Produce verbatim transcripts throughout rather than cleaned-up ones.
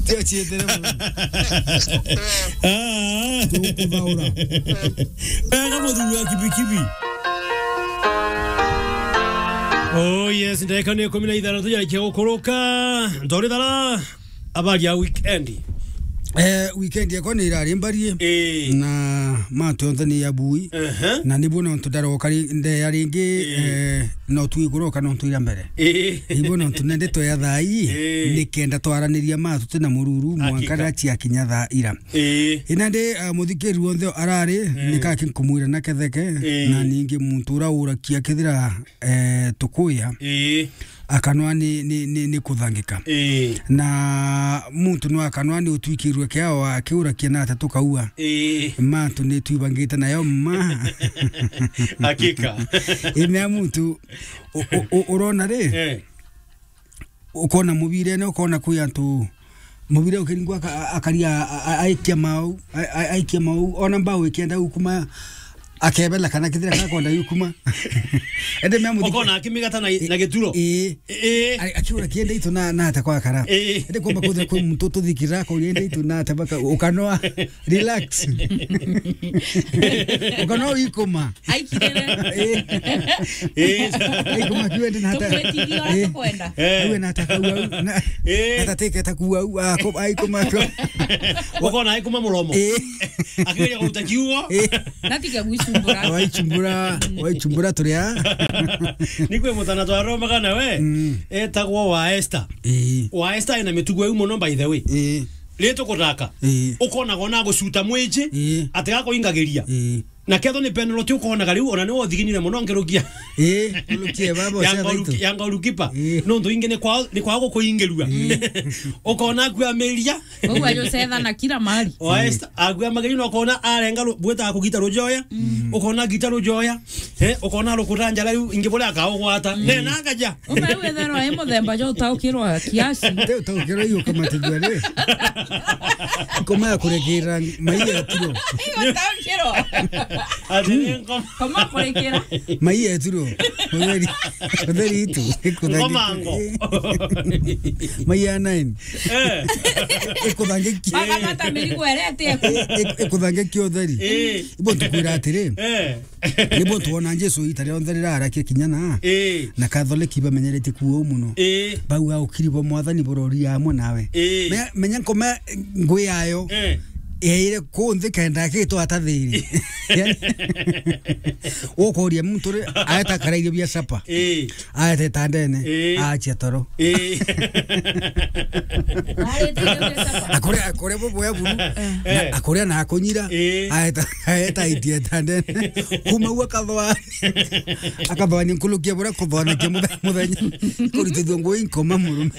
Tio ciethere muno. Ah. Tukuthaura. Wega muthuri wa kibikibi. Oh yes, ndagika ni ikumi na ithanthatu yarikia gukuruka. Ntori thara. Habari ya weekend? Eh, weekend yakwa ni irari mbarie. Ii. Na mantu yonthe ni ya bui. Ehe. Na nibuo nontu ndaroka ri-, ndeya ringi, ii, eh, no tu ikuroka nontu ira mbere. Ii. Ibuo nontu nende tweya thaa ii, ii, nikenda twaraniria mantu tutina mururu, hakika, mwanka riria ciakinya thaa ira. Ii. Ina ndi, eh, muthikiri wonthe arari, ii, nikaki nkumwira na ketheke, ii, na ningi muntu ura urakia kethira, eh, tukuya. Ii. Akanwa ni, ni, ni, ni kuthangika. Ii. Na muntu no akanwa ni utwikirwe kiao akiurakia na ata tukaua. Ii. Mantu ni twibangite nayo ma. Hakika. Imea muntu u-, u-, u-, urona ri? Eh. Ukona mubirene, ukona kwi antu mubire ukiringwa aka-, a-, akaria a-, a-, aikia mau, a-, a-, aikia mau, ona mbao ikienda gukuma, akebela kana kethira gakonda yukuma. Ende mea muthiki- Ukona akimigata na, na gituro. Ii. Ii. Ari-, akiura kiende itu na, na ata kwa kara. Ii. Ende kwamba kuthira kwi muntu tuthikira ko yende itu na ata baka ukanoa relax. Ukanoa ikuma. Aikirire. Ii. Ii. Ikuma kiwende na ata. Tumwitigie ura tukwenda. Eh. Awe na ata kuwa. Na, ii, ata teke ta kuwa, a, ko, aikuma ko. Ukona aikuma muromo. Ii. Akigeria kuruta kiugo. Ii. Na tiga gwicumbura. Waicumbura, waicumbura turia. Ni kwi mutana twaromaga nawe. Mm. Etagwo wa Esther. Ii. Wa Esther ena mitugo iu muno, by the way. Ii. Ri tukuthaka. Ii. Ukonaga ona gucuta mwiji. Ii. Atiga kuingagiria. Ii. Na ketho ni penalty ukonaga riu, ona ni wothiginire muno ngerukia. Ii, ngerukia baba ya cia ngoru-, thaitu. Ya goalkeeper. Ii. Nontu ingi ni kwa, ni kwa gukuingirua. Ii. Ukona akuamiria. Koguo ajucethana kila mahali. Wa Esther, akuamagiria na ukona arenga ru-, bwita kugita rujoya. Mm. Ukona gita rujoya. Eh, ukona rukuta njara riu ingi buria akaugwata. Mm. Ne na akaja. Ume wethero ai muthemba jo utaukirwa kiasi. Te utaukirwa iyo kama tujua ri. Ngoma ya kurekera mai ya turo. Iyo utaukirwa. Ati ni ngoma. Ngoma kurekera. Mai ya turo. Utheri. Utheri itu. Ngoma ngo. Mai ya nine. Eh. Ikuthangikia. Baga mata mirigo erete. Ikuthangikia utheri. Eh. Ibo tukwira atiri. Eh. Nibo tuona Jesu ita rionthe rirarakia kinya na. Ii. Na Kathoreki bamenyeretie kuo muno. Ii. Bau aukiri bo Mwathani burori amwe nawe. Ii. Me-, menya nkoma ngwi yayo. Ii. Yaire ku nthi kenda gitwa atathiri. Yani, ukoria muntu ri, aeta karairio bia sapa. Ii. Aeta itandene, ii, achia toro. Ii. Akuria, akuria bubuya buru. Eh. Na akuria na akunyira. Ii. Aeta, aeta itie itandene. Kuma u akathwa. Akathwa ni nkulukia buria kuthwanakia muthe-, muthenya. Kurutithua ngui nkoma murume.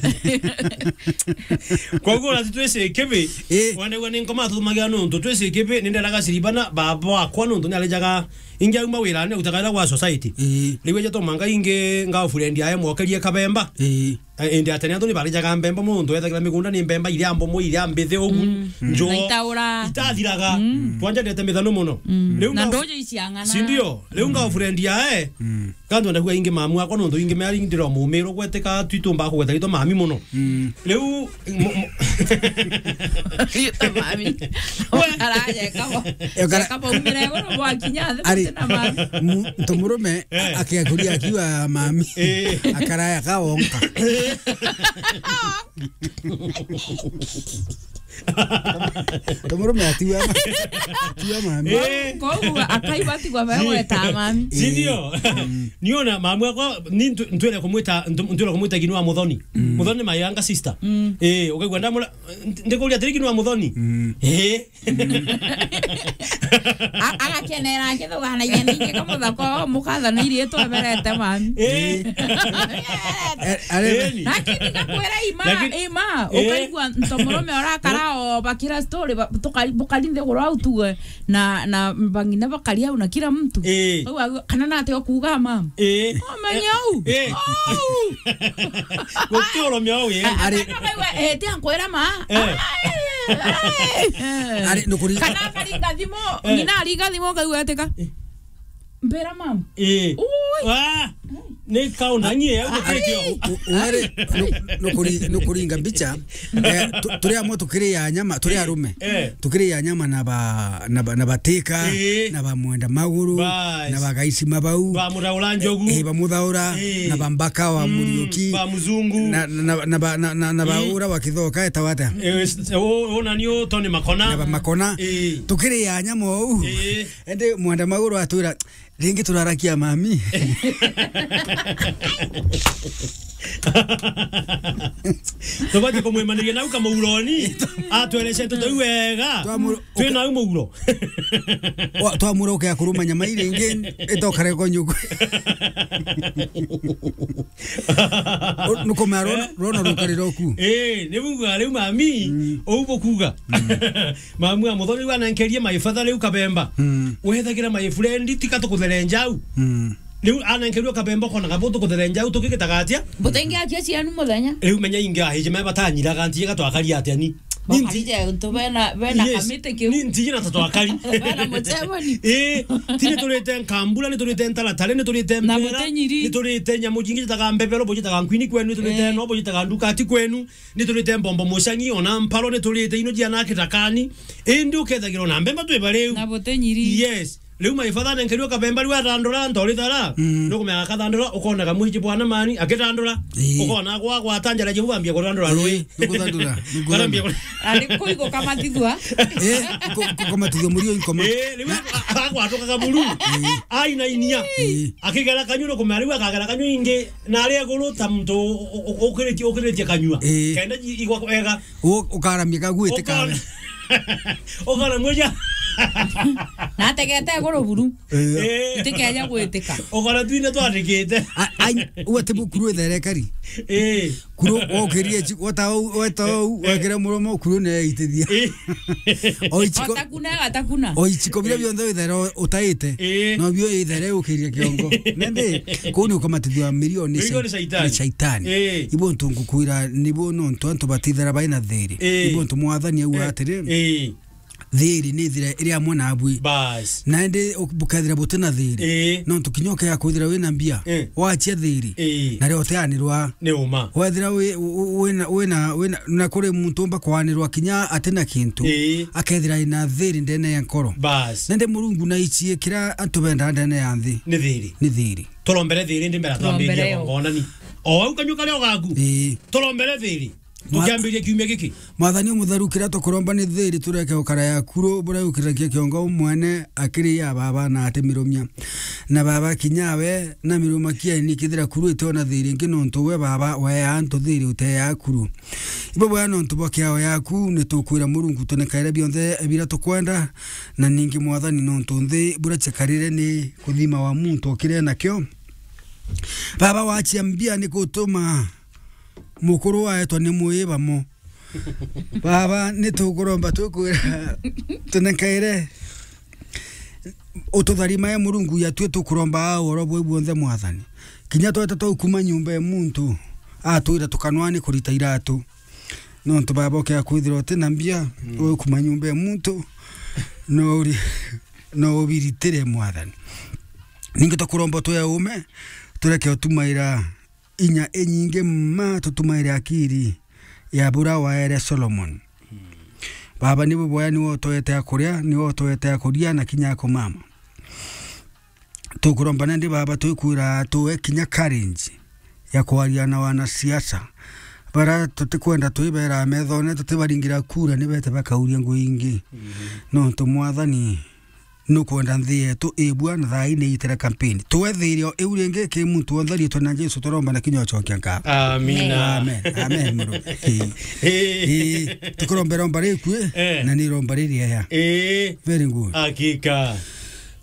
Koguo na twisi kibi. Ii. Wanegwa ni nkoma tumagia nontu twisi kibi, ninderaga siribana, baba wakwa nontu ni alijaga ingi auma wirane utakaira gwa society. Ii. Riu eja tomanga ingi girlfriend ae mwokerie kabemba. Ii. Eh, indi atene antu ni barijaga mbemba, muntu ethagirwa migunda ni mbemba iria mbomo, iria mbithi ugu. Mm. Njo. Na itaura. Itathiraga. Mm. Twanja ndete mithano muno. Mm. Riu na nga-, ndojo iciang'ana. Si ndio? Riu girlfriend ae. Mm. Kantu ndagua ingi mamu akwa nontu ingi meri ndiro mumiro gwetika twitumba kugweta ritwa mami muno. Mm. Riu Mo-, mo-, Mami. Ukaraje kabo. Ukara- Kabo umire iguru bwakinya thi. Ari, na mami. Mu-, muntu murume, eh, akiakuria akiuga mami. Eh. Akaraya kawonka. Muntu murume atiwa ma-, atiwa mami. Eh. Koguo akaigua atigwa we weta mami. Si ndio? Mm. Niona mamu akwa, ni ntu-, ntwire kumwita, ntu-, ntwire kumwita Ginua Muthoni. Mm. Muthoni ni my younger sister. Mm. Eh, ukaigua ndamura, ndikuria atiri Ginua Muthoni. Mm. Eh. A-, agakenera akithuganagia ningi kamuthako mukathana iri tweberete mami. Eh. Eh, are- Eni. Lakini ngakwira ima, lakini ima, eh, ukaigua nto murume urakara o bakira story, ba-, tukari-, bukari nthiguru au tuge. Na, na bang'ina bakaria au na kila mtu. Eh. Au, au, kana nate okuga mama. Eh. Omenya au. Eh. Au. Guti urumia au, eh. A-, ari- akana baiwa, eh, ti ankwira ma. Eh. Ai, ai. Ari, nukuri- Kana akaringa thimu, eh, ng'ina aringa thimu, akauga atika. Eh. Mbira mama. Eh. Ui. Ah. Ni kaunda ngie au gutitio. U-, wari nu-, nukuri-, nukuringa mbicha. Eh, tu-, turi amwe tukiriya nyama, turi arume. Eh. Tukiriya nyama na ba, na ba, na batika, eh, na ba mwenda maguru, bas, na ba gaicima bau. Ba muthaura njogu. Eh, ba muthaura, eh, na ba mbaka wa, mm, Muriuki, ba muzungu. Na, na, na ba, na, na, na ba, mm, ura wa Kithoka, etawa atia? Eh, s-, o, o, na nio Tony Makona. Na ba Makona. Eh. Tukiriya nyama ou. Eh. Ende mwenda maguru atwira, ringi turarakia mami. Tubati kumwimaniria nau kamuuroni. Atwereche nteto iu wega. Twamuru-, twina au muuro. Wa-, twamura ukea kuruma nyama iringi, itokare kwa nyuku. O, nukumea rona, eh, rona rukari roku. Eh, ni buga riu mami, mm, ou bukuga. Mm. Mamu a muthoni riu anenkerie my father riu kabemba. Mm. Wethagira my friend, tika tukutherenja au. Mm. Riu anenkerio kabemba, ukonaga bo tukutherenja au, tukigitaga atia? Butengi akia cianu muthenya. Riu menya ingi ahiji me batanyiraga, ntiga twakari atia ni? Ni nti-, bakarije untu bena, bena, yes, kamiti kiu. Ni ntiji na tatwakari. Bena mucemani. Eh, ti ni turite nkambura, ni turite ntaratare, ni turite na mpera, butenyiri. Ni turite nyamu jingi jitaga mbebero, bujitaga nkwini kwenu, ni turite, eh, no bujitaga ndukati kwenu. Ni turite mbombo mucangi, ona mparo ni turite ino jiana kitakani. Indi ukethagira ona mbemba twi bariu. Na butenyiri. Yes. Riu my father nenkerio kabemba riu athandura, ntori thara. Mm. Nukumenya akathandura, ukonaga mwiji bwana mani, akithandura. Ii. Ukona gwa gwata njara jiu bambia kuthandura rui. Ii, nukuthandura, nukuthandura. Barambia ku- Ari kuigo kamatithua. Eh, ku-, ku-, kukamatithua murio inkoma. Eh, riu a-, a-, agwatuka kaburu. Ii. Aina inia. Ii. Akigera kanyua nukumenya riu akagera kanyua ingi. Na ari iguru ta muntu u-, u-, u-, ukiritie, ukiritie kanyua. Ii. Kenda ji-, igwa wega. U-, ukaramia kagwite kawe. Ukona-, ukona mweja. Na ategete iguru buru. Ii. Ii. Itikeja gwitika. Ukona twine twandikite. A-, ai, uwe ti bukuru ithere kari. Ii. Kuru wokirie chi-, wota ou, weta ou, eh, wekire muromo, kuru ne itithia. Ii. O ichiko- Otakuna, atakuna. O ichiko biria bionthe ithere o-, utaite. Ii. No bio ithere ukiria kiongo. Nende, kuu ni ukamatithua milioni. Milioni cia-, shaitani. Ni shaitani. Ii. Ibo ntu ngukwira, nibo nontu antu batithera baina thiri. Ii. Ibo ntu mwathani au, eh, atiri, ii, thiri ni ithira iri amwe nabui. Bas. Na indi u-, bukethira buti na thiri. Ii. Nontu kinya ukea kwithira wina mbia, ii, wachia thiri. Ii. Na rio uteanirwa. Ni uma. Wethira wi-, wi-, wina, wina, wina, na kuri muntu umba kwanirwa kinya ati na kintu, ii, akethira ina thiri ndene ya nkoro. Bas. Nende Murungu na ichie kira antu benda ndene ya nthi. Ni thiri. Ni thiri. Turombere thiri ndi mbere. Turombere twambiria yo. Ngona ni. O au kanyua karia ugaku. Ii. Turombere thiri. Mwa-, tukiambiria kiumia giki. Mwathani Umutheru, kiria tukuromba ni thiri, tureke ukara yakuru, buria ukiragia kiongo mwene akiri ya baba na atimirumia. Na baba kinyawe, na miruma kieni kithira kuru ite ona thiri ingi, nontu we baba wea antu thiri utea kuru. Ibo bwea nontu bwa kiao yaku, ni tukwira Murungu tunikaire bionthe bira tukwenda, na ningi Mwathani nontu nthi buria chekarire ni kuthima wa muntu ukire nakio. Baba wachia mbia ni gutuma mukuru waetwa ni mwiba mo. Baba, ni tukuromba tukwira, tunenkaire, ututharima e Murungu yatue tukuromba aa oro bwe buonthe Mwathani. Kinya tweta twaukuma nyumba e muntu, atwira tukanwa ni kurita iratu. Nontu Baba ukea kwithira uti na mbia, mm, ukuma nyumba e muntu, no uri-, no ubiritire Mwathani. Ningi tukuromba twe ume, tureke utumaira inya inyingi mma, tutumaire akiri ya bura waere Solomon. Baba, nibu bwaya niwe utoete akuria, niwe utoete akuria na kinya akumama. Tukuromba nandi Baba, twikwira tuwe kinya courage ya kwaria na wanasiasa. Bara tutikwenda twibera methone, tutibaringira kura, nibete bakauria ngui ingi. Mhm. Nontu Mwathani, nukwenda nthi yetu ibua na thaa ii ni itire kampeni. Tuwe thirio iu ringi ki muntu wonthe, riitwa na Jesu turomba na kinya ucokia nka. Amina. Amen. Amen, muru. Ii. Ii. Ii. Tukuromba iromba rikui, eh, na ni iromba ririega. Ii. Very good. Hakika.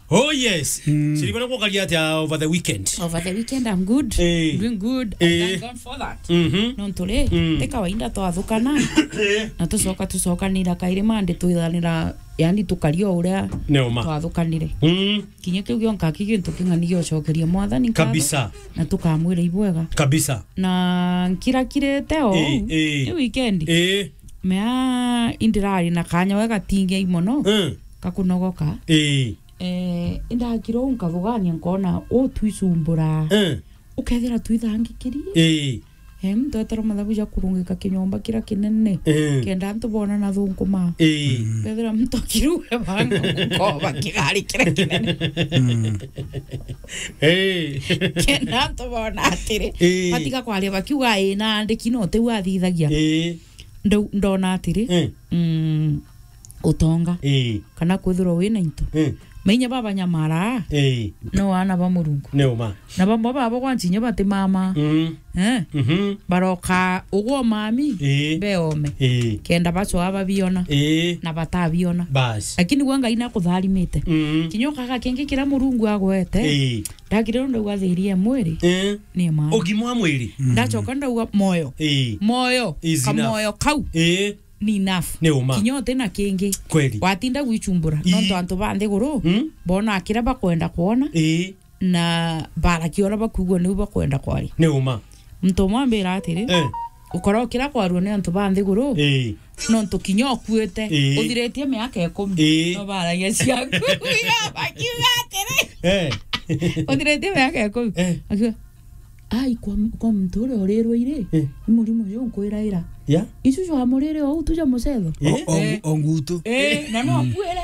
Oh yes. Mm. Siribana kukaria atia over the weekend? Over the weekend, I'm good. Eh. Doing good. I, eh, thank God for that. Mhm. Nontu ri, mm, ti kawaida twathukana. Eh. Na tucoka, tucokanira kairi Monday twithanira, yani tukaria o uria twathukanire. Mm. Kinya kiu gionka ki gintu king'ani gia ucokeria Mwathani nkatho. Kabisa. Na tukamwira ibwega. Kabisa. Na nkirakirite o, eh, eh, ni weekend. Eh. Mea indirari na kanya we gatingi ai mono. Mm. Kakunogoka. Eh. Eh, indakira uu nkathugania nkona uu twicumbura. Eh. Ukethira twithangikiri. Ii. Em, tweterwa mathabu ja kurungika kinyomba kira kinene. Ii. Kenda antu bona na thunkuma. Ii. Ukethira mtu akiruwe banga gukoba kigari kira kinene. Mm. Ii. Kenda antu bona atiri. Ii. Batiga kwaria bakiuga, "Ii, na andiki no teu athithagia." Ii. Ndau-, ndona atiri. Ii. Mm. Utonga. Ii. Kana kwithirwa wina into. Ii. Mainya baba nyamara. Ii. No ana ba Murungu. Ni uma. Na bamwe babo gwanchinya bati mama. Mm. Eh? Mhm. Baroka ugwo mami. Ii. Beome. Ii. Kenda bacwa babiona. Ii. Na batabiona. Bas. Lakini gwe Ngai nakutharimite. Mm. Kinya ukaga kingi kira Murungu agwete. Ii. Ndakire ndauga thiria mwiri. Ii. Ni mama. Ugima wa mwiri. Mm. Ndachoka ndauga moyo. Ii. Moyo. Is enough. Kamoyo kau. Ii. Ni enough. Ni uma. Kinya uti na kingi. Kweli. Watinda gwichumbura. Ii. Nontu antu ba nthiguru, mm, bona kira bakwenda kwona, ii, na barakia uria bakuigua niu bakwenda kwaria. Ni uma. Muntu umwe ambira atiri, eh, ukora ukira kwarua ni antu ba nthiguru, ii, nontu kinya ukuite, ii, uthiritie miaka ikumi, ii, no baragia ciaku. Iga bakiuga atiri, eh, uthiritie miaka ikumi. Eh. Akiuga, "Ai, kwa, kwa muntu uria urirwe iri, eh, ni murimo uyu nkwiraira." Ya? Icu jwa murire ou tu ja mucetho? Eh? O, o, eh, o ngutu. Eh, na no akuire.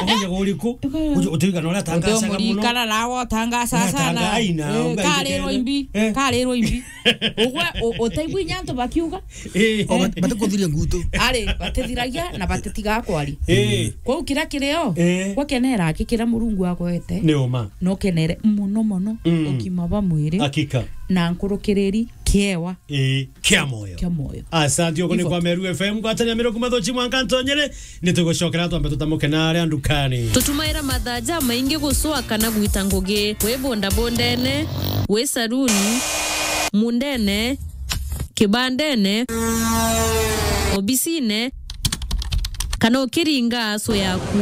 Umenye uriku? Uka- Uju-, utigana uria atangacaga muno. Utomurikana nawe utangaca sana. Atanga aina, eh, unga karirwo ijikene. Imbi, eh, karirwo imbi. Ugwe, u-, utaigua inya antu bakiuga? Eh. O, bat-, batikuthiria ngutu. Ari, batithiragia na batitigaa kwaria. Eh. Kwou kiria kirio, eh, gwakenera aki kiria Murungu agwete. Ni uma. Nokenere muno muno, mm, ugima bwa mwiri. Hakika. Na nkurukiriri kiewa. Ii, kia moyo. Kia moyo. Asante, uko ni kwa Meru F M, ngwatania Meru kuma Thochi mwanka Ntonyere. Nitugucokera twambe tutamuke na aria ndukani. Tutumaira mathaa jamaingi gucwa kana gwita ngugi. Wi bondabondene, wi saruni, mundene, kibandene, obisine, kana ukiringa aso yaku.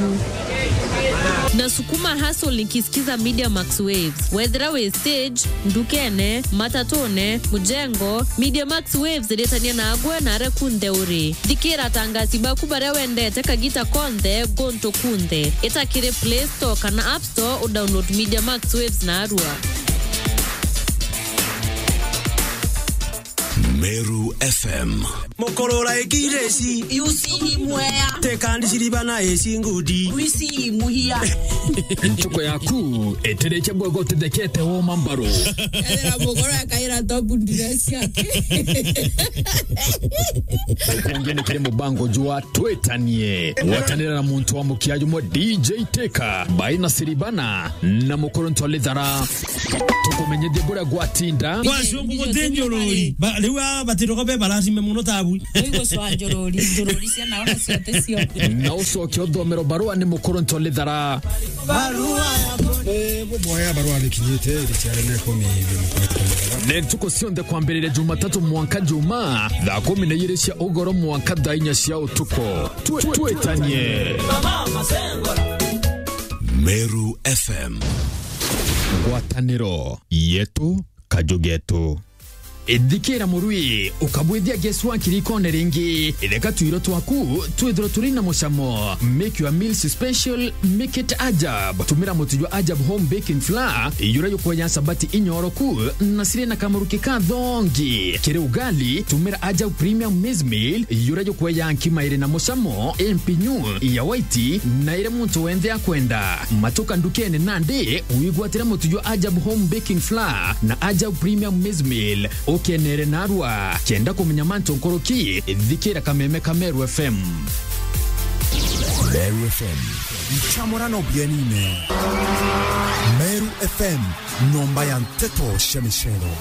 Nasukuma hustle nikisikiza Media Max Waves. Wethira wi stage, ndukene, matatune, mujengo, Media Max Waves iritania nagwe na aria kunthe uri. Thikira atangasi baku baria wendete kagita konthe, guntu kunthe. Ita kiri Play Store kana App Store udownload Media Max Waves narua. Meru F M. Mukurura ikireci. Yusi imwea. Tekandi ciriba na eci ngudi. Wisi imuhia. Ntuku yaku itirikia bwega utithekete woma mbaru. Ethira mukoro akaira tobu ndiresi yake. Kungi ni kiri mubango jwa Twitanie. Gwatanira na muntu wa mukia jumwe D J Teka, Baina Siribana, na Mukuru Ntolithara. Tukumenyithie buria gwatinda. Kwa cungu guti njururi. Ba-, riu aa batiroka be baracime muno tabu. Uiguswa njururi, njururi cia naona ciate cio. Na ucoke uthomero barua ni Mukuru Ntolithara. Barua ya bo-, eh, buboya barua nikinyite, iri ciarene kumi. Ni ntuku cionthe kwambiriria Jumatatu mwanka Juma, thaa kumi na ijiri cia ugoro mwanka thaa inya cia utuku. Twe-, twitanie. Meru F M. Ngwataniro yetu, kaju getu. Ithikira murui, ukabwithia Geswa kirikone ringi. Itheka twiro twaku, twithirwe turi na mucamo. Make your meals special, make it Ajab. Tumira mutu jwa Ajab Home Baking Flour, ijura yukweja sabati inyoroku, na siri na kamaruki ka thongi. Kiri ugali, tumira Ajab Premium Maize Meal, ijura yukweja nkima iri na mucamo, impinyu, ya white, na iri muntu wenthe akwenda. Matuka ndukene nandi, wigwatire mutu jwa Ajab Home Baking Flour na Ajab Premium Maize Meal, ukenere narua. Kenda kumenya mantu nkuruki, thikira kameme ka Meru F M. Meru F M. Nchamurano bienine. Meru F M, nyomba ya nteto cia micero.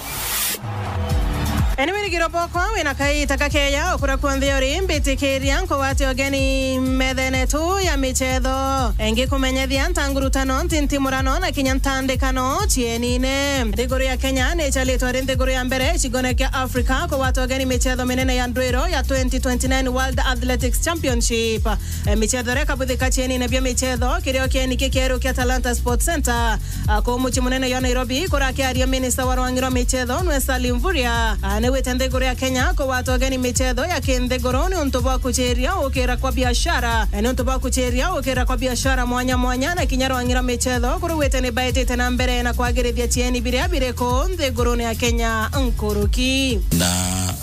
Eni wirigiro bwakwa wina kaita kakeya ukura kunthe uri, mbitikiria nkugwate ugeni methene tu ya michetho. Engikumenyethia ntangurutano ntintimurano na kinya ntandikano cienine. Nthiguru ya Kenya ni icharitwe ri nthiguru ya mbere icigone kia Africa kugwata ugeni michetho minene ya ndwiro ya twenty twenty-nine World Athletics Championship. E, michetho iria ikabuthika cienine bia michetho kirio kieni kikieru kia Talanta Sports Centre. A, kuu mucii munene jwa Nairobi, kurakiaria minista wa rwangi rwa michetho nwe Salim Mvurya. A, Niwite nthiguru ya Kenya kugwata ugeni michetho ya kinthiguru ni untu bwa kuchiria ukira kwa biashara. Ni untu bwa kuchiria ukira kwa biashara mwanya mwanya na kinya rwang'i rwa michetho kuruwite ni baitite na mbere na kwagirithia chieni biria biri ku nthigurune ya Kenya nkuruki. Na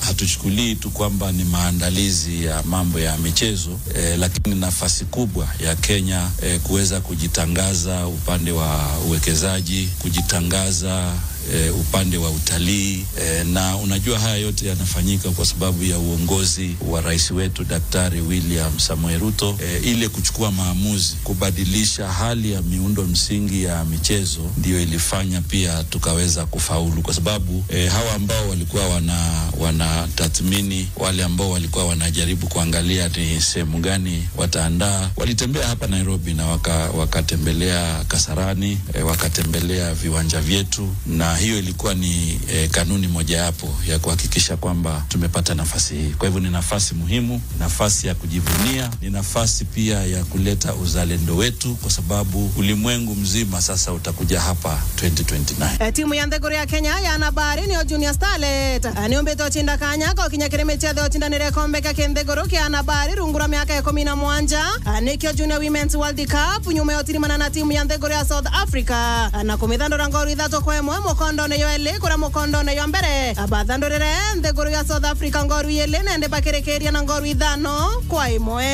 hatuchukulii tu kwamba ni maandalizi ya mambo ya michezo, eh, lakini nafasi kubwa ya Kenya, eh, kuweza kujitangaza upande wa uwekezaji, kujitangaza, eh, upande wa utalii, eh, na unajua haya yote yanafanyika kwa sababu ya uongozi wa rais wetu Daktari William Samoei Ruto, eh, ile kuchukua maamuzi kubadilisha hali ya miundo msingi ya michezo ndio ilifanya pia tukaweza kufaulu, kwa sababu, eh, hawa ambao walikuwa wana, wanatathmini, wale ambao walikuwa wanajaribu kuangalia ni sehemu gani wataandaa, walitembea hapa Nairobi na waka-, wakatembelea Kasarani, eh, wakatembelea viwanja vyetu, na hiyo ilikuwa ni, eh, kanuni mojawapo ya kuhakikisha kwamba tumepata nafasi hii. Kwa hivyo ni nafasi muhimu, nafasi ya kujivunia, ni nafasi pia ya kuleta uzalendo wetu, kwa sababu ulimwengu mzima sasa utakuja hapa twenty twenty-nine. Eh, timu ya nthiguru ya Kenya ya anabari niyo Junior Starlet, eh, niumbite ucinda kanya ka ukinya kiri michetho ya ucindanire gikombe kia kinthiguru kia anabari rungu rwa miaka ikumi na mwanja, eh, nikio Junior Women's World Cup, nyuma ya utirimana na timu ya nthiguru ya South Africa, eh, na kumithandura ngoru ithatu kwa imwe mukondone yo eli, kuria mukondone yo mbere, eh, bathandurire nthiguru ya South Africa ngoru ili, na indi bakirikiria na ngoru ithano kwa imwe.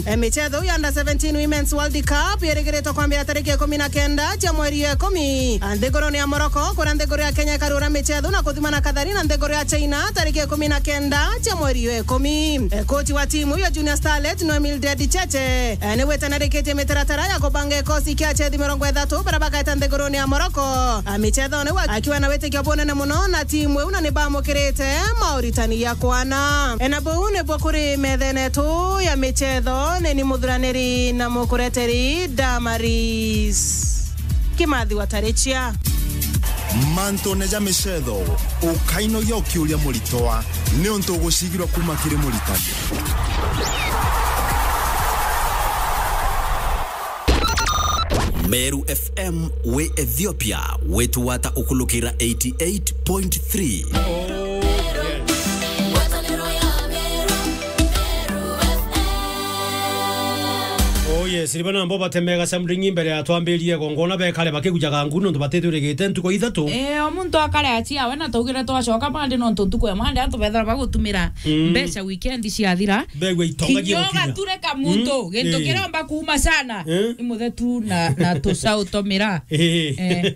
E, michetho ya Under seventeen Women's World Cup yerigiritwe kwambira tariki ikumi na kenda cia mweri ya ikumi, a, nthigurune ya Morocco, kuria nthiguru ya Kenya ikarura michetho na kuthimana kathari na nthiguru ya China tariki ikumi na kenda cia mweri ya ikumi. E, kochi wa timu ya Junior Starlet no Mildred Cheche, e, ni witanarikitie mitaratara ya kubanga ikosi kia achethi mirongo ithatu baria bakaeta nthigurune ya Morocco, a, michethone, akiwa na witikio bunene muno na timu iu, na ni bamukirite mauritani ya kwana. E, na buu nibuo kuri methene yetu ya michetho, ni ni muthuraniri na mukureteri Damaris Kimathi wa Tarichia. Mantune ja michetho, ukainogia ukiuria muritwa, niuntu ugucigirwa kuma kiri muritani. Meru F M wi Ethiopia, witwata ukulukira eighty-eight point three. Oh yes, riba nambo batemega something mbere ya twambirie gongona bekare bakigujaga ngu nontu batitwirigite ntuku ithatu. Eh, o muntu akare aciawe na taugire twacoka Monday nontu ntuku ya Monday antu bethira bagutumira Mm. mbeca weekend ciathira. Begwa itonga Kinya cia gukinya. Ugature ka muntu, Mm. gintu Eh. kiromba kuuma sana. Eh. Ni muthetu na, na tucau twa miraa. Eh. Eh.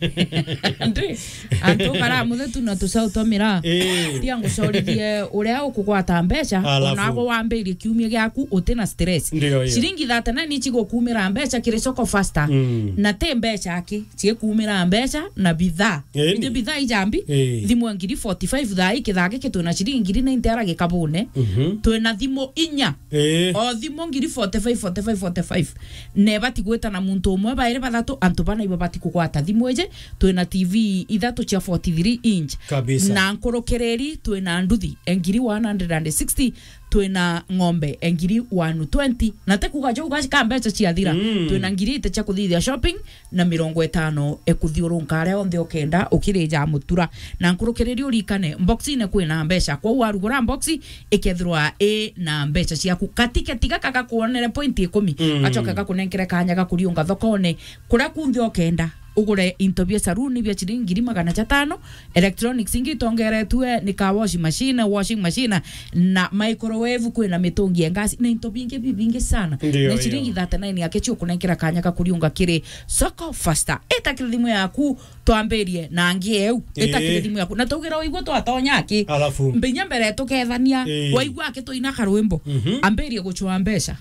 Ndi, antu bara muthetu na tucau twa miraa. Eh. Tia ngucorithie uria ukugwata mbeca, Alafu. ona agwe wambirie kiumia giaku uti na stress. Ndio, hiyo. Ciringi thirty-nine icigukumira mbeca kiri Soko Faster. Mm. Na ti mbeca aki, cikumira mbeca na bidhaa. Eh, Ingi ni. Bidhaa ijambi, Eh. thimu ya ngiri forty-five thaa ii kithaa giki twina ciringi ngiri ninety ara gikabune. Mhm. Twina thimu inya. Eh. O thimu ngiri forty-five, forty-five, forty-five. Na ibati gwita na muntu umwe, bairi, bathatu, antu bana ibo bati kugwata thimu iji. Twina T V ithatu cia forty-three inch. Kabisa. Na nkurukiriri twina nduthi e ngiri one hundred and sixty, twina ng'ombe e ngiri one twenty. Na ti kuuga jau gacika mbeca ciathira. Mm. Twina ngiri eighty cia kuthithia shopping, na mirongo itano e kuthiurunka aria onthe ukenda ukirija mutura. Na nkurukiriri urikane, box-ine kwina mbeca. Kwou warugura box, ikethirwa i na mbeca ciaku. Katiketi gaka gakuonere point ikumi, Mm. gacoke gakunenkere kanya ga kuriunga thokone kuria kunthe ukenda. Ugure into bia saruni bia ciringi ngiri magana jatano, electronics ingi itongeretue ni ka washing machine, washing machine, na microwave, kwina mitungi ya gas, na into bingi bibingi sana. Ndio, Na ciringi ndio. thirty-nine yake cio kunenkera kanya ka kuriunga kiri Soko Faster. Ita kiri thimu yaku, twambirie na ngi eu. Ita Ii. kiri thimu yaku. Na taugira waigua twatonya aki. Alafu. Mbinya mbere tukethania, Ii. waigua aki tuina karwimbo. Mhm. Ambirie gucua mbeca.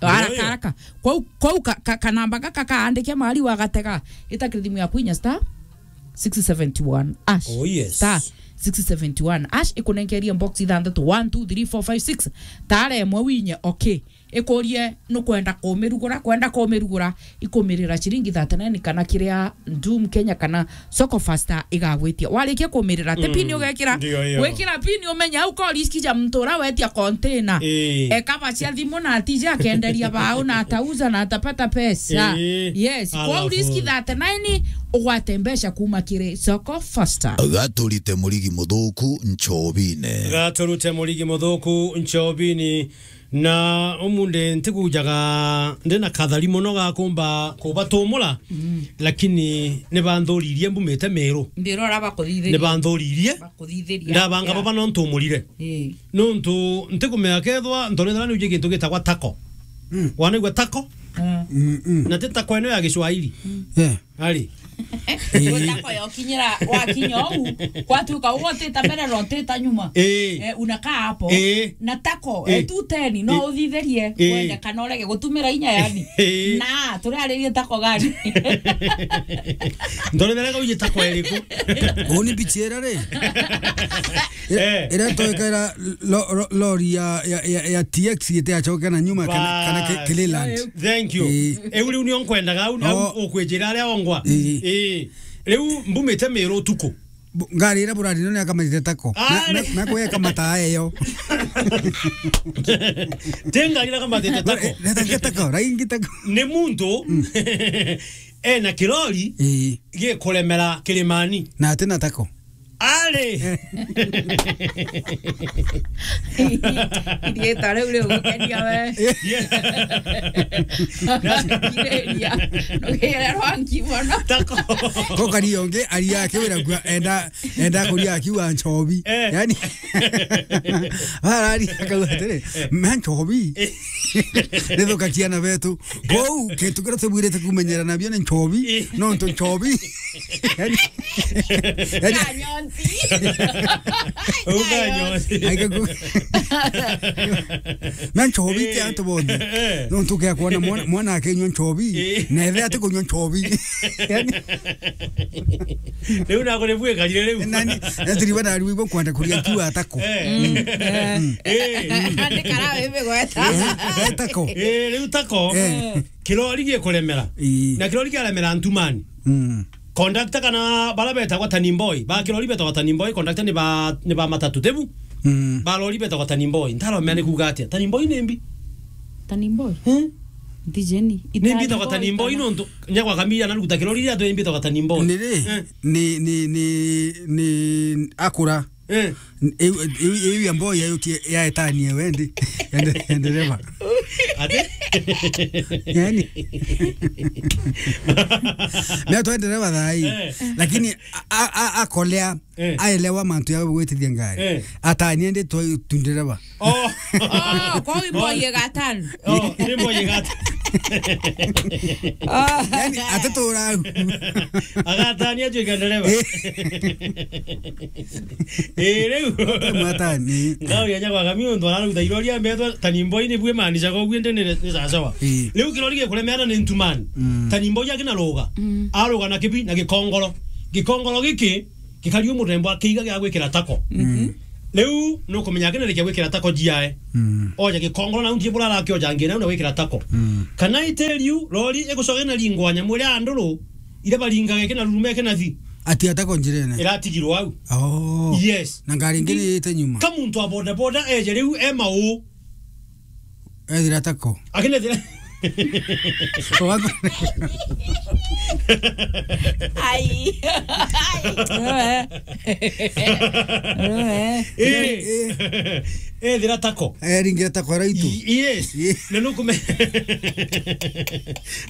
Haraka, Ndio. haraka. Kwou, kwou ka, ka, kanamba gaka kaandike mari wa gatega. Ita kiri thimu yaku inya star six seventy-one hash. Oh, yes. Star six seventy-one hash ikunenkeria box ithanthatu, one, two, three, four, five, six. Tara imwe winye, okay. Ikurie nukwenda kumirugura, kwenda kumirugura, ikumirira ciringi thirty-nine kana kiria Doom Kenya kana Soko Faster igagwitia. Warikia kumirira, ti pin ugekira, ndio hiyo. Wikira pin umenye au ko riski ja mtu ura wetia container. Ii. Ekaba cia thimu na atija akenderia bao na atauza na atapata pesa. Ii. Yes, kwa alafu riski thirty-nine ugwate mbeca kuma kiri Soko Faster. Gaturite murigi muthuku nchobine. Gaturute murigi muthuku nchobini. Na umunthi ntikujaga ndi na kathari mono ga kumba kubatumura, lakini ni banthuririe mbumite Miru. Ndirora bakuthithiria. Ni banthuririe. Bakuthithiria. Ndabanga baba no ntumurire. Ii. Nuntu ntikumenya kethwa ntorethera ni uje gintu gitagwa tako. Mm. Wanaigua tako? Mm. Mm, mm. Na ti tako eno ya Kiswahili. Mm. Yeah. Ari. Ii. Tako yokinyira, wakinya uu, kwatuika uu utita mbere na utita nyuma. Ii. Eh, unakaa hapo. Ii. Na tako, ii, eh, two ten, no, ii, uthithirie, ii, wende kana urege gutumira inya yani. Ii. Na, turaririe tako gani? Ndorethera gauji tako iriku? Uni bichiera ri? Eh. Ira toika ira lo-, lo-, lori ya, ya, ya, ya T X gite acoke na nyuma kana, kana ki-, bas. Kililand. Thank you. Ii. Eu riu nio nkwendaga, au, au, oh, ukwijira aria ongwa. Ii. Ii. Riu mbumite Miru utuku. Bu-, ngari ira burari none akamatite tako. Ah, na, na, na kweka mataa eyo. Ti ngari ira kamatite tako. Eh, reta nge tako, raingi tako. Ni muntu, mm, ena kirori, ii, gikuremera kirimani. Na atina tako. Ari! Iriita riu rigukenia we. Yeah. Kiriria. Nugire rwangi mono. Tako. Ko kari ongi, aria akiwira gua enda, enda kuria akiuga nchobi. Eh. Yani, arari akauga atiri, "Ma nchobi." Eh. Nithukakia na betu. Kou, kintu kiria tubwirite kumenyera nabio ni nchobi, eh, nontu nchobi. Yani, yani, Kanyonti. Au Kanyonti. Aika ku-, na nchobi ti antu bonthe. Eh. Nontu ukia kuona mwana, mwana akinywa nchobi, eh, na ethe atikunywa nchobi. Yani, riu naku ni bwikarire riu. Nani, na tiri bana riu ibo kwenda kuria kiwa atako. Eh. Mm. Eh. Eh. Andika rawe bigweta. Eh, tako. Eh, riu tako. Eh. Kirori gikuremera. Ii. Na kirori kiaremera ntumani. Mm. Conductor kana bara betagwa turning boy. Ba kirori betagwa turning boy, conductor ni ba, ni ba matatu, tebu? Mm. Ba lori betagwa turning boy. Ntaromea ni kuuga atia? Turning boy ni mbi? Turning boy? Eh? Ntijeni. Ni mbi itagwa turning boy nontu nyakwa kamira na ruta kirori ria tu mbi itagwa turning boy. Ni ri? Eh. Ni, ni, ni, ni akura. Eh. Iu, iu, iu ya mboya yukie ya etanie wendi. Ende, endereva. Ati? Yani. Mimi tu endereva thai. Eh. Lakini a, a, a, akolea, eh, aelewa mantu ya gwitithia ngari. Eh. Atanie ndi tu, tu ndereva. Oh. Oh, kwa wimbo ye gatano. Oh, ni mboye gata. Oh. Yani, atatura au. Agatania atuike ndereva. Eh. Eh, riu. Mwatani. Ngau ya nyakwa kami undu araruta irori ya mbetwa turning boy ni bwe maanisha kwa gwe ndene ni sawa sawa. Eh. Riu kirori gikuremera ni ntumani. Mm. Turning boy akina roga. Mm. Aroga na kibi na gikongoro. Gikongoro giki gikari u murembo akiiga gia gwikira tako. Mhm. Riu nukumenya akina rikia gwikira tako jiae. Mm. Oja gikongoro na untie burara akioja ngina na gwikira tako. Mm. Kana itiriu, lori igucoge na ringwa nyamu iria nduru, iria baringaga ikina rurume ikina thi. Ati atako njirene. Iratigirwo au. Oh. Yes. Na ngari ingine yite nyuma. Ka muntu wa boda boda eje riu e mau. Ethira tako. Akina thira. Wako- Ai. Ai. Eh. Eh. Eh, thira tako. Eh, ringira tako raitu. Y-, yes. Ye- Na nukume-,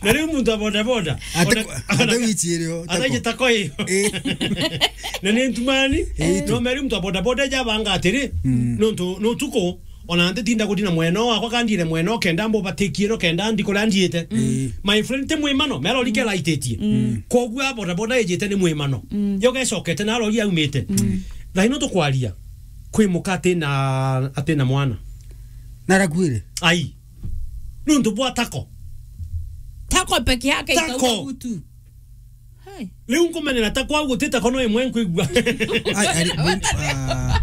na riu muntu wa boda boda. Ate ona-, ku-, ate ona-, wichi irio, ataije tako. Tako iyo. Eh. Na ni ntumani. Eh, no meri muntu wa boda boda jabanga atiri, mm, nontu, no tuko, ona ntitinda gutina mwena wakwa, kandire mwena kenda mbubatikie no kenda ndi kuria ndiite. Mm. My friend, ti mwimano, mera urike, mm, laititie. Mm. Koguo boda boda ijite ni mwimano. Mm. Yo gecokete na rori aumite. Mm. Thaino tukwaria, kwi muka atina, atina mwana. Narakuire? Ai. Nuntu bwa tako. Tako peke yake. Tako. Itauga gutu. Hai. Riu nkumenera tako au guti tako no imwe nkwigua. Ai, ari, bu-, ah,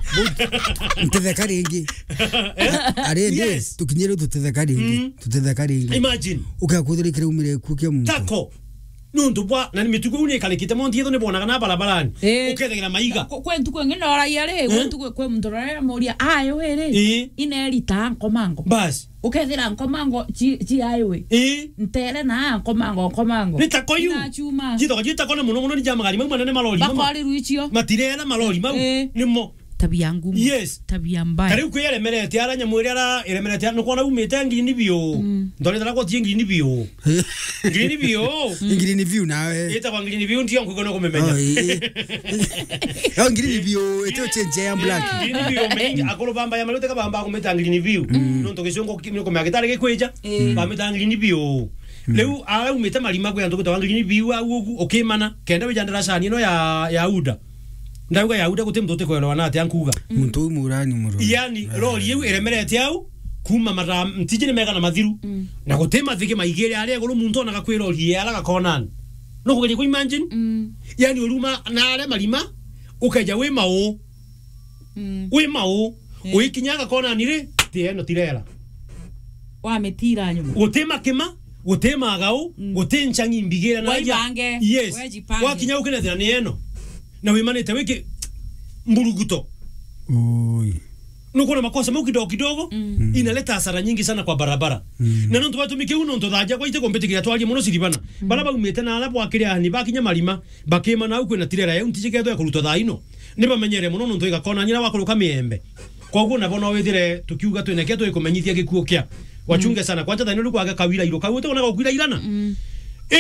Ntetheka ringi. Ari ndi, yes, tukinyire tutetheka ringi. Mm. Tutetheka ringi. Imagine. Ukakuthira kiraumire ku kia muntu. Tako. Nuntu bwa, na ni mitugo iu ni ikarikite, montu yetho ni bonaga na barabarani. Eh. Ukethegera maiga. Ku-, kwe ntuku ingi noragia ri, kwe, eh, ntuku kwe muntu rorera moria, "Ayo iri." Eh. Inerita nkomango. Bas. Ukethira nkomango ci, ci highway. Eh. Ntere na nkomango, nkomango. Ni tako iu. Inachuma. Cithoka citako na muno muno ni ja magari mau manene, malori mau. Bakorirwe icio. Matirera malori mau. Eh. Nimo. Tabia ngumu. Yes. Tabia mbaya. Kariu kwi iremerete ara nyamu iria ara iremerete ara, nukwona umite ngirini biu. Mm. Ndorete ara gwatie ngirini biu. Ngirini biu. Ngirini biu nawe. Itagwa ngirini biu, ndio nkugo no kumemenya. Oh, ii. Oh, ngirini biu, ito change ya black. Ngirini biu, mengi, akuru bamba ya malute kabamba kumita ngirini biu. Mm. Nontu gicungu ki-, ni kumea gitari gikwija. Mm. Bamita ngirini biu. Mm. Riu ara umite marima kwi antu gutawa ngirini biu au ugu, ukimana, kenda wija ndaracani ino ya, ya uda. Ndauga ya uda guti muntu utikwelewa na atia nkuga. Mm. Muntu uyu murani muru. Yani, eh, lori iu iremerete au, kuma mara, ntiji ni mega na mathiru. Mm. Na guti mathigi maigire aria iguru muntu onaga kwi lori ye ara gakonani. No kugeria ku imagine? Mm. Yani, uruma na aria marima, ukeja wi mau. Mm. Wi mau. Eh. Uikinya gakonani ri, ti eno tirera. Wamitira nyuma. Guti makima, guti magau, mm, guti nchangi mbigire na aja. Waibange, yes, wejipange. Wakinya ukinethira ni eno. Na wimanite wiki mburuguto. Ui. Nukwona makosa mau kidogo kidogo, mm, mm, inaleta hasara nyingi sana kwa barabara. Mm. Na nontu batumi kiu nontu thaja kwa ite kumbitikiria twarie muno Siribana. Mm. Bara baumite na ara bwakire ani bakinya marima, bakima nau kwina tirera yau ntiji ketho ya kurutwa thaa ino. Ni bamenyere muno nontu igakona nyina wakuruka miembe. Koguo nabo no withire tukiuga twineke twikumenyithia gikuo kia. Wachunge, mm, sana. Kwanja thaa ino riu kwage kawira iro kau uti wona gukwira irana. Mm.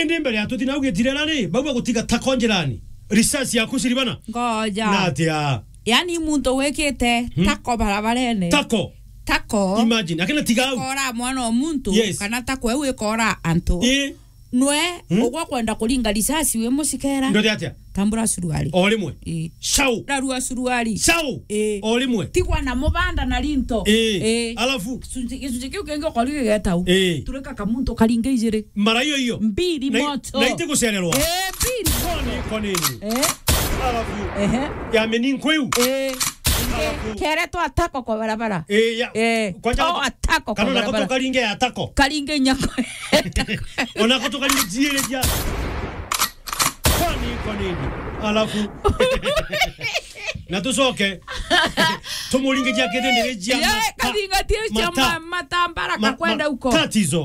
Indi mbere ya tuthi nau gitirera ri, bau bagutiga tako njirani. Risasi yaku Siribana. Ngoja. Na atia? Yani muntu wikite, hmm, tako barabarene. Tako. Tako. Imagine, akina tiga au. Kora mwana wa muntu, yes, kana tako eu ikora antu. Ii. Nwe, hmm, ugwa kwenda kuringa risasi wi mucikera. Ndote atia? Tambura suruari. O rimwe. Ii. Shau. Rarua suruari. Shau. Ii. O rimwe. Tigwa na mubanda na rinto. Ii. Ii. Alafu? Gicunji, gicunji kiu kingi ukori gigeta u. Ii. Turika kamuntu karinge ijiri. Mara iyo iyo. Mbiri na i-, moto. Na iti gucererwa. Ii, mbiri. Koni, koni. Ii. Alafu? Ehe. Ya mininko iu. Ii. Alafu? Kere twa tako kwa barabara. Ii, ya. Ii. Kwanja to atako kwa barabara. Kana nako tukaringe ya tako. Karinge nyako. Onako tukaringe jiere ja. Kwani, kwani. Alafu. Na tucoke. Tumuringe ja kithindiri ja. Ye, ma-, karinga tie cia mata-, ma-, matambara ma-, kakwenda ma-, uko. Tatizo.